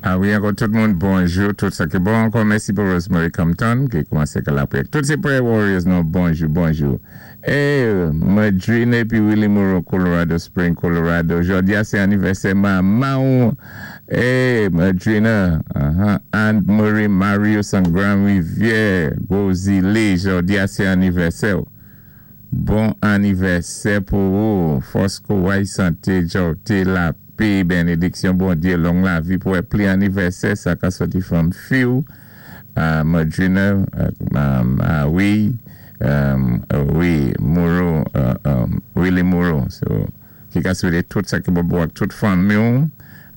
A wi, ankò tout moun, bonjou, tout sa ki bon. Ankò mèsi pou Rosemary Compton ki koumansé ka lapriyè. Tout sé prayer warriors nou, bonjou, bonjou. É, Madrina épi Willie Moreau, Colorado Spring, Colorado. Jòdi-a sé anivèsè manman. É, Madrina, Anne Marie Marius an Grand Rivière, Gwo Zilé, jòdi-a sé anivèsè. Bon anivèsè pou ou. Fòs, kouway, santé, jòté, lapè, bénédiksyon Bondyé, long lavi pou wè pli anivèsè, sa ka sòti fanm fi-w, Madrina, wi, wi, Moreau, Willie Moreau. So, ki ka swété tout sa ki bon pou ak tout fanmi,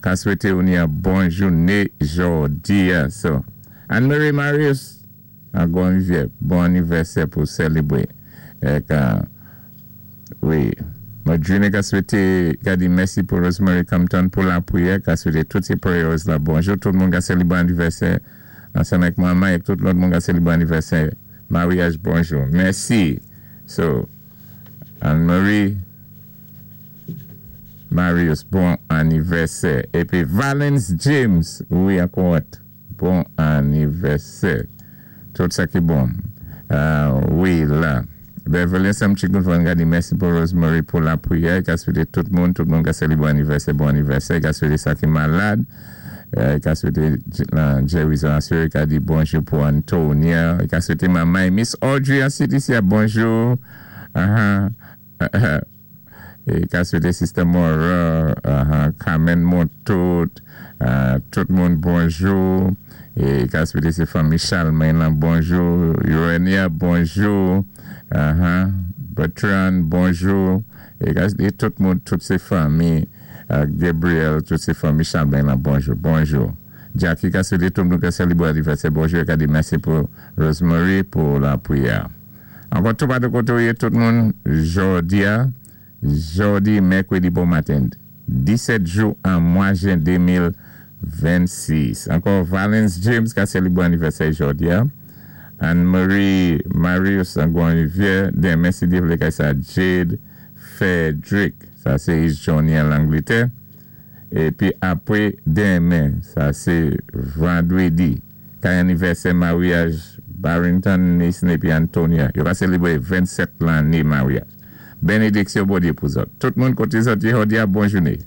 ka swété ou ni yon bon jouné jòdi. So, Anne-Marie Marius, an Grand Rivière, bon anivèsè pou sélébwé. Ek, wi, Madrina ka swété, ka di mèsi pou Rosemary Compton pou lapriyè, ka swété tout sé prayers la. Bonjou tout moun ka sélébwé anivèsè, ansanm ak manman é tout lòt moun ka sélébwé anivèsè. Maryaj, bonjou. Mèsi. So, Anne-Marie Marius, bon anivèsè. Épi Valence James, wi, ankò, bon anivèsè. Tout sa ki bon. Wi, la. Beverly Sam Chicken Van ka di mèsi pou Rosemary pou lapriyè, ka swété tout moun ka sélébwé anivèsè, bon anivèsè, ka swété sa ki malad, ka swété Jerry Zansur, ka di bonjou pou Antonia, ka swété manman Miss Audrey an CDC, bonjou. É ka swété Sister Mora, Carmen Montout, tout moun bonjou. É ka swété sé fanmi Charlemagne la, bonjou. Urania, bonjou. Bertrand, bonjou. É ka swété tout moun, tout sé fanmi Gabriel, tout sé fanmi Charlemagne la, bonjou, bonjou. Jackie ka swété tout moun ka sélébwé anivèsè, bonjou. É ka di mèsi pou Rosemary pou lapriyè. Ankò tout patou koté ou yé tout moun, jòdi-a, jòdi mèkwédi bon maten, 17 jou an mwa jen 2026. Ankò Valence James ka sélébwé anivèsè jòdi-a. Anne-Marie Marius an Grand Rivière, denmen si Dye vlé kay sa Jade Frederick, sa sé East Johnny an Langlétè. Épi apwé denmen, sa sé vandwédi, kay anivèsè maryaj Barrington Mason épi Antonia. Yo va sélébwé 27 lanné maryaj. Bénédiksyon Bondyé pou zòt. Tout moun koté zòt yé jòdi-a, bon jouné.